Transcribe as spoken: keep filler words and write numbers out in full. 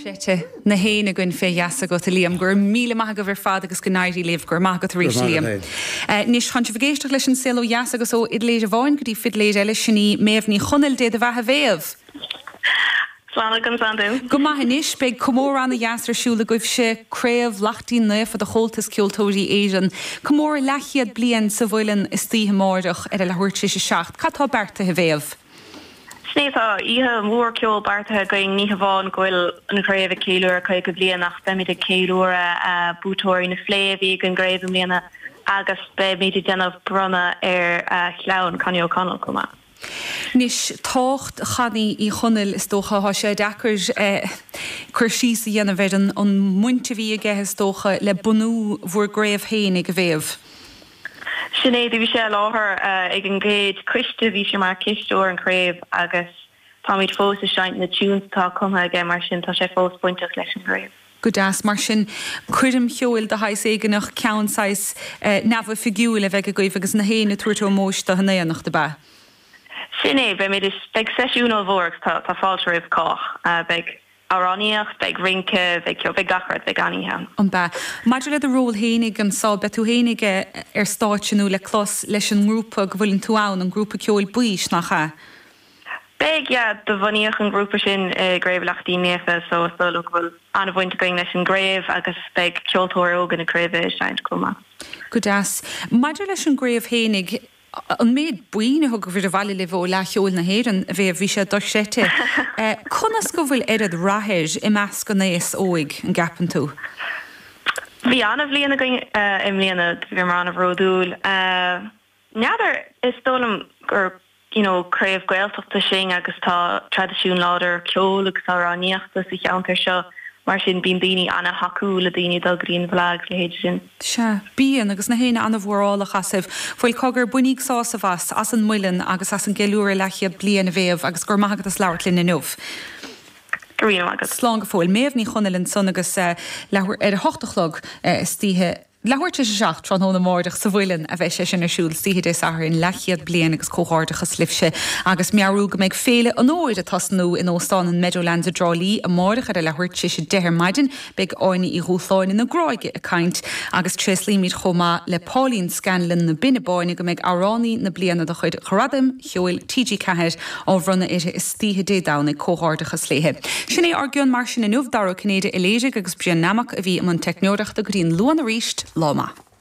Dochreidte na héinne againn fé gheasa agat a Liam, go raibh míle maith agaibh ar fad agus go n-éirí libh go raibh maith agat arís Liam. Anois chun sibh ag éisteacht leis an saol ó dheas agus ó fhidléir amháin go dtí fidléir eile sin í Méabh Ní Chonaill Dé do bheatha a Mhéabh. Slán agam Sandú. Go maith anois beidh comóradh ana-dheas ar siúl agaibhse Craobh Laichtín Naofa de Chomhaltas Ceoltóirí Éireann. Comóradh leathchéad bliain sa Mhuileann istoíche amárach ar a leathuair tar éis a seacht. Cad tá beartaithe a Mhéabh? Sin é tá oíche mhór ceoil beartaithe againn ní hamháin go bhfuil an chraobh ag ceiliúradh caoga bliain ach beimid ag ceiliúradh buaiteoirí na Fleadh a bhí ag an gcraobh i mbliana agus beimid ag déanamh bronnadh ar chlann Connie O'Connell chomh maith. Anois tábhacht Chonnie Uí Chonaill is dócha tá sé deacair cur síos a dhéanamh ar an an mbaint a bhí aige is dócha le bunú bhur gcraobh féinig a Mhéabh. Sin é bhí sé i láthair ag an gcéad choiste bhí sé mar chisteoir an chraobh agus táimid fós ag seinnt na tunes atá cumtha aige mar sin tá sé fós bainteach leis an gcraobh. Go deas mar sin coirm cheoil de shaghas éigineach ceann saghas neamhoifigiúil a bheidh agaibh agus na héinne ag tabhairt ómóis do in éineacht ab ea. Sin é beimid beidh seisiún ollmhór agus tá tá fáilte roimh chách beidh amhránaíocht, beidh rince, beidh ceol, beidh gach rud, beidh an-oíche ann. An bea. Maidir le do ról féinig anso, beidh tú féinig ar stáitse nó le clos leis an ngrúpa go bhfuileann tú ann, an grúpa ceoil Baois, nach ea? Beidh, yeah, do bunaíodh an grúpa sin i gCraobh Laichtín Naofa so is dóigh liom go bhfuil an-bhaint againn leis an gcraobh agus beidh ceoltóir óga na craoibhe ag seinnt chomh maith. Go deas. Maidir leis an gcraobh féinig, an méid boinn a thugaibh abhaile libh ó Fhleadh Cheoil na hÉireann a bhí bhí sé dochreidte. Conas go bhfuil oiread rath air i measc an aos óig an gceapann tú? Bhí an-bhliain againn i mbliana bhí an-bhródúil. N'fheadar is dóigh liom gur you know, craobh Gaeltachta sinn agus tá traidisiún láidir ceoil agus amhránaíochta sa cheantar seo mar sin bíonn daoine an-tacúil le daoine dul go dtí an bhFleadh agus leithéid sin. Sea, bíonn agus na héinne an-mhórálach asaibh. Bhuel cogar bainíg sásamh as as an Muileann agus as an gceiliúradh leathchéad bliain a Mhéabh agus go raibh maith agat as labhairt linn inniu. Go raibh maith agat. Slán go fóill. Méabh Ní Chonaill ansan agus leathuair ar a hocht a chlog istoíche leathuair tar éis a seacht tráthnóna amárach sa Mhuileann a bheidh sé sin ar siúl istoíche Dé Sathairn leathchéad bliain agus comhghairdeachas libhse agus meabhrú go mbeidh Féile an Fhómhair ag tosnú in Óstán an Meadowlands i dTrá Lí amárach ar a leathuair tar éis a deich ar maidin beidh Áine Uí Dhúshláine na Gráige ag caint agus tréaslaímid chomh maith le Pauline Scanlon na Binne Báine go mbeidh amhránaí na bliana de chuid Ghradaim Cheoil TG Ceathair á bhronnadh uirthi istoíche Dé Domhnaigh comhghairdeachas léithe. Sin é ár gcion mar sin inniu Dara Ó Cinnéide a léirigh agus Brian Nammock a bhí i mbun teicneoireachta go dtí an Luan arís lá maith.